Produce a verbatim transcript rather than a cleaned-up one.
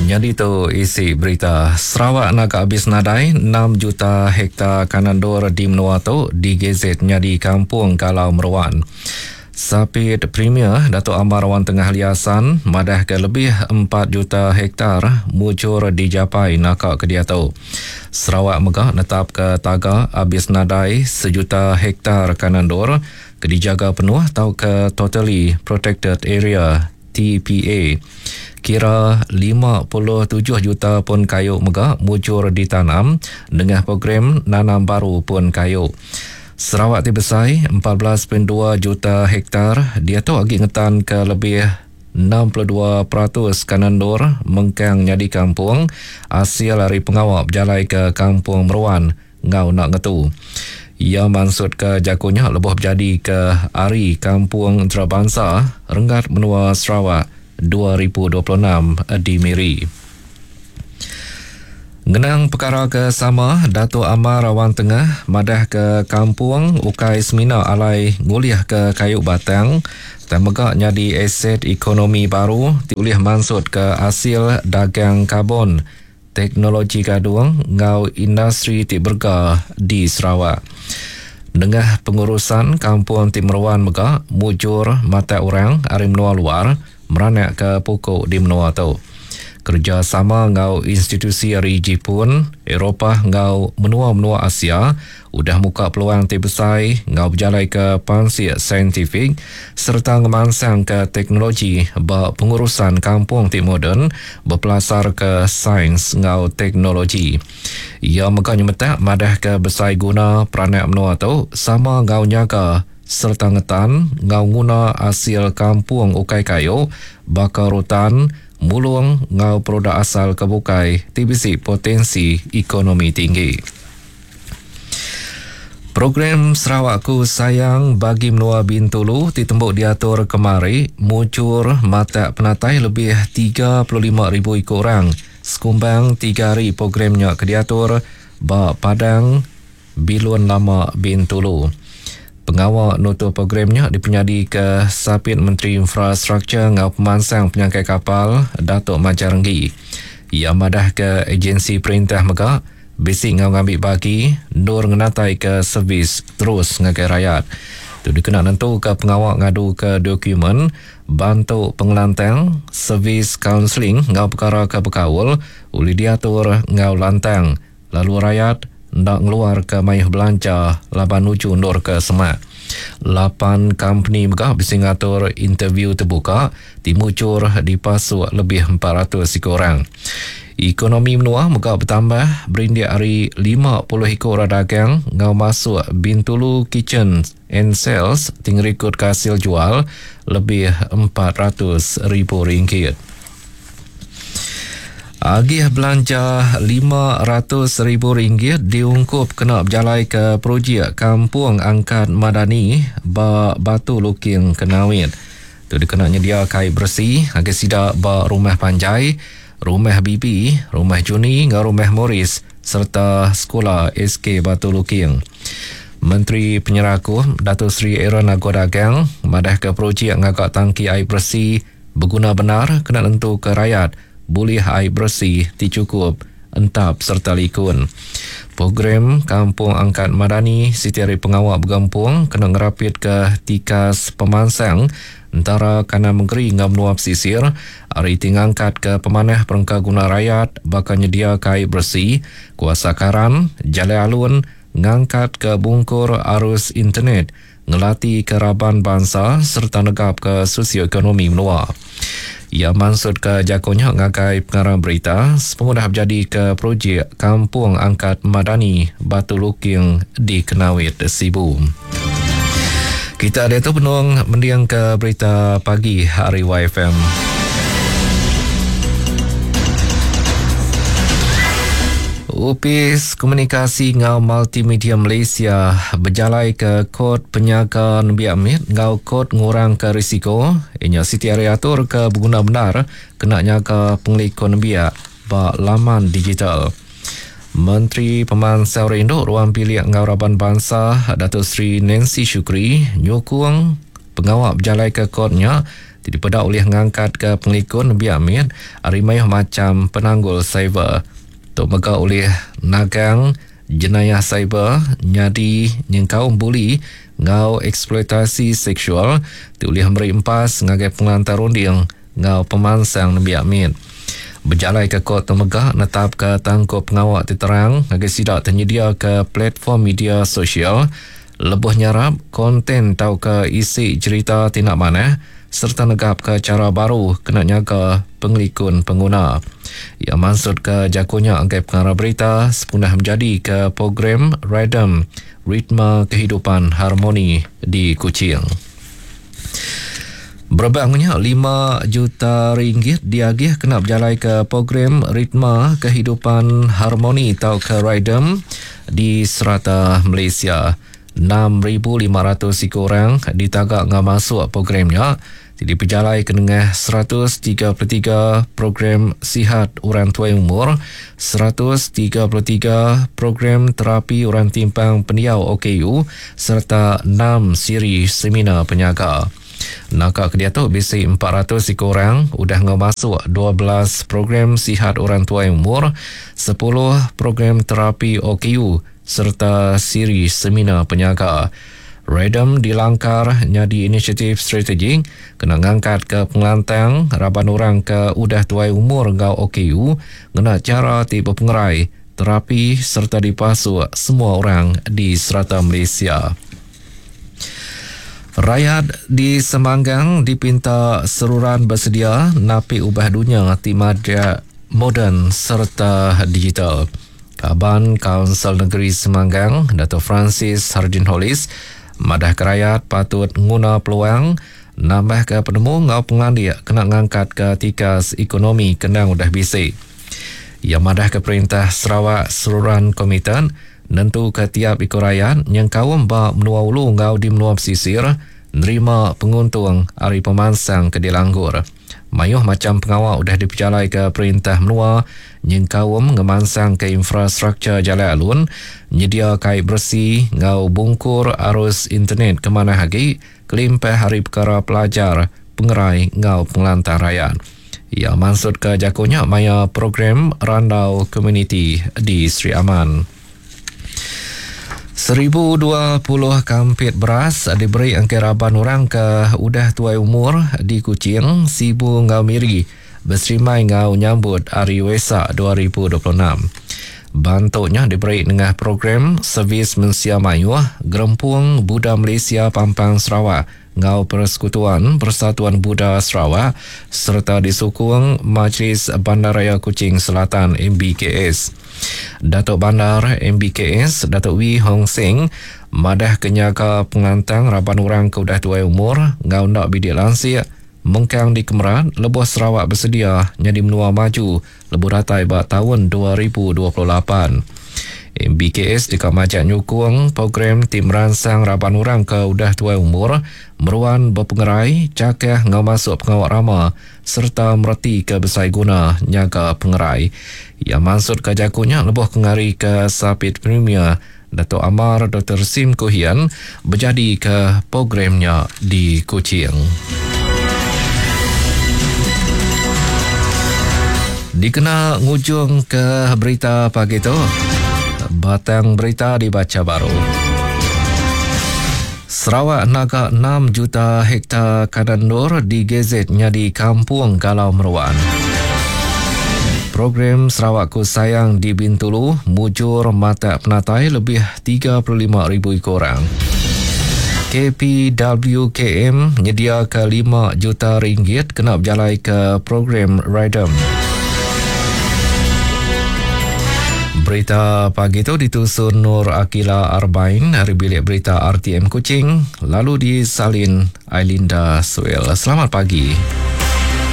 Nyadi tu isi berita. Sarawak naga habis nadai enam juta hektar kanandur di menua tu digazet nyadi kampung galau meruan. Sapit Premier Datuk Amar Awang Tengah Ali Hasan madah ke lebih empat juta hektar mujur dijapai naka ke diatu. Sarawak mega netap ke taga habis nadai sejuta hektar kanandur ke dijaga penuh atau ke Totally Protected Area T P A. Kira lima puluh tujuh juta pun kayu mega mujur ditanam dengan program nanam baru pun kayu. Sarawak ti besai empat belas perpuluhan dua juta hektar dia tu agi ngetan ke lebih enam puluh dua peratus kanandur mengkang nyadi kampung hasil ari pengawak berjalai ke kampung meruan ngau nak ngetu. Ia maksud ke jagonya lebuh berjadi ke Hari Kampung Antarabangsa Renggat Menua Sarawak dua ribu dua puluh enam di Miri. Ngenang perkara ke sama, Datuk Amar Awang Tengah madah ke kampung ukai semina alai ngulih ke kayu batang dan mega nyadi aset ekonomi baru ti ulih mansut ke hasil dagang karbon, teknologi gadung ngau industri ti berga di Sarawak. Nengah pengurusan kampung ti meruan mega mujur mata orang ari menua luar meranak ke pokok di menua tu. Kerjasama ngau institusi ari Jepun, Eropah ngau menua-menua Asia udah muka peluang ti besai ngau berjalai ke pansik saintifik serta ngemansang ke teknologi ba pengurusan kampung ti moden berpelasar ke sains ngau teknologi. Ia mega nyemetak madah ke besai guna peranak menua tu sama ngau nyaga serta ngetan ngau nguna hasil kampung ukai kayu baka rutan, mulung ngau produk asal kebukai ti bisi potensi ekonomi tinggi. Program Sarawakku Sayang bagi menua Bintulu ditembuk diatur kemari mujur matak penatai lebih tiga puluh lima ribu ikut orang. Sekumbang tiga hari programnya kediatur ba Padang Bilun Lama Bintulu. Pengawal nutup programnya dipenyadi ke Sapit Menteri Infrastruktur ngau Pemansang Penyangkai Kapal Datuk Majang Renggi. Ia madah ke agensi perintah mega bisi ngau ngambil bagi nur ngenatai ke servis terus ngagai rakyat. Tu dikena nentu ke pengawal ngadu ke dokumen bantu pengelantang servis kaunseling ngau perkara ke berkaul uli diatur ngau lantang lalu rakyat ndak ngeluar ke mayuh belanja laban nuju nur ke semak. Lapan company mega bisi ngatur interview terbuka timucur dipasuk lebih empat ratus ikut orang. Ekonomi menua mega bertambah berindik hari lima puluh ikut orang dagang ngau masuk Bintulu Kitchen and Sales tinggal ikut hasil jual lebih empat ratus ribu ringgit. Agih belanja lima ratus ribu ringgit diungkup kena berjalai ke projek Kampung Angkat Madani ba Batu Luking Kenawit. Tu dikena nyedia kai bersih agih sida ba Rumah Panjai, Rumah Bibi, Rumah Juni ngau Rumah Morris serta Sekolah S K Batu Luking. Menteri Penyerakuh Datuk Seri Aaron Ago Dagang madah ke projek ngagak tangki air bersih berguna benar kena nentu ke rakyat boleh air bersih ti cukup entap serta likun. Program Kampung Angkat Madani siti hari pengawal bergempung kena ngerapit ke tikas pemansang antara kanan negeri ngau menua pesisir hari ti ngangkat ke pemanah perengka guna rakyat bakal nyedia air bersih, kuasa karan, jalai alun, ngangkat ke bungkur arus internet, ngelati ke raban bangsa serta negap ke sosioekonomi menua. Ia maksud ke jagonya ngagai pengarang berita sepengudah berjadi ke projek Kampung Angkat Madani Batu Luking di Kenawit, Sibu. Kita ada tu penuh mendiang ke berita pagi hari Y F M. Upis Komunikasi ngau Multimedia Malaysia berjalai ke kod penyaga nembiak mit ngau kod ngurang ke risiko inya siti hari atur ke berguna benar kena nyaga pengelikun nembiak ba laman digital. Menteri Pemansang Induk Ruang Bilik ngau Raban Bangsa Datuk Seri Nancy Shukri nyukung pengawal berjalai ke kodnya Ti dipedak oleh ngangkat ke pengelikun biak mit ari mayuh macam penanggul cyber. Tu mega oleh nagang jenayah cyber nyadi nyengkaum buli ngau eksploitasi seksual ti ulih meri empas ngagai pengelantar runding ngau pemansang nembiak mit. Berjalai ke kod tu mega netap ke tangkup pengawak ti terang ngagai sidak tersedia ke platform media sosial lebuh nyarap konten tau ke isi cerita tindak manah serta negap ke cara baru kena nyaga pengelikun pengguna. Ia maksud ke jagonya angkai pengarah berita sepunah menjadi ke program Rhythm Ritme Kehidupan Harmoni di Kuching. Berbangnya lima juta ringgit diagih kena berjalai ke program Ritme Kehidupan Harmoni atau ke Rhythm di serata Malaysia. enam ribu lima ratus orang ditagak ngah masuk programnya. Jadi berjalai ke nengah seratus tiga puluh tiga program sihat orang tua umur, seratus tiga puluh tiga program terapi orang timpang pendiau O K U serta enam siri seminar penyaga. Nakak ke dia tu bisi empat ratus orang udah ngah masuk dua belas program sihat orang tua umur, sepuluh program terapi O K U serta siri seminar penyaga. Rhythm dilangkar nyadi inisiatif strategik kena ngangkat ke pengelantang raban orang ke udah tuai umur ngau O K U ngena cara ti berpengerai terapi serta dipasuk semua orang di serata Malaysia. Rakyat di Semanggang dipinta seruran bersedia napi ubah dunia ti madya moden serta digital. Kaban Kaunsil Negeri Semanggang, Dato' Francis Hardin Hollis, madah ke rakyat patut nguna peluang nambah ke penemu ngau pengandik kena ngangkat ke tikas ekonomi kenang udah bisik. Ia madah ke perintah Sarawak seruran komitan nentu ke tiap ikut rakyat yang kaum ba menua ulu ngau di menua pesisir nerima penguntung ari pemansang ke dilanggur. Mayuh macam pengawal udah diperjalai ke perintah menua nyengkaum ngemansang ke infrastruktur jalan alun, nyedia kait bersih ngau bungkur arus internet ke mana lagi kelimpah hari perkara pelajar pengerai ngau pengelantar rakyat. Ia maksud ke jakonya maya program Randau Community di Sri Aman. Seribu dua puluh kampit beras diberi angkai raban orang ke udah tuai umur di Kuching, Sibu ngau Miri berserimai ngau nyambut Hari Wesak dua ribu dua puluh enam. Bantuknya diberi dengan program Servis Mensia Mayuh Gerempung Buddha Malaysia Pampang Sarawak ngau Persekutuan Persatuan Buddha Sarawak serta disukung Majlis Bandaraya Kuching Selatan M B K S. Datuk Bandar M B K S Datuk Wee Hong Seng madah kenyaga pengantang raban orang ke udah tuai umur ngau nak bidik lansik mengkang di Kemeran lebuh Sarawak bersedia nyadi menua maju lebuh datai ba tahun dua ribu dua puluh lapan. M B K S dekat majak nyukung program tim ransang raban orang ke udah tuai umur meruan berpengerai cakah ngau masuk pengawak rama serta mereti ke besai guna nyaga pengerai. Ia maksud ke jakunya lebuh kengari ke Sapit Premier Datuk Amar Doktor Sim Kuhian berjadi ke programnya di Kuching. Dikena ngujung ke berita pagi tu. Batang berita dibaca baru. Sarawak naga enam juta hektar kanan nur digazetnya di Kampung Galau Meruan. Program Sarawakku Sayang di Bintulu mujur mata penatai lebih tiga puluh lima ribu orang. K P W K M menyediakan lima juta ringgit kena berjalai ke program Rhythm. Berita pagi itu ditusun Nur Akila Arbain dari Bilik Berita R T M Kuching, lalu disalin Ailinda Suel. Selamat pagi.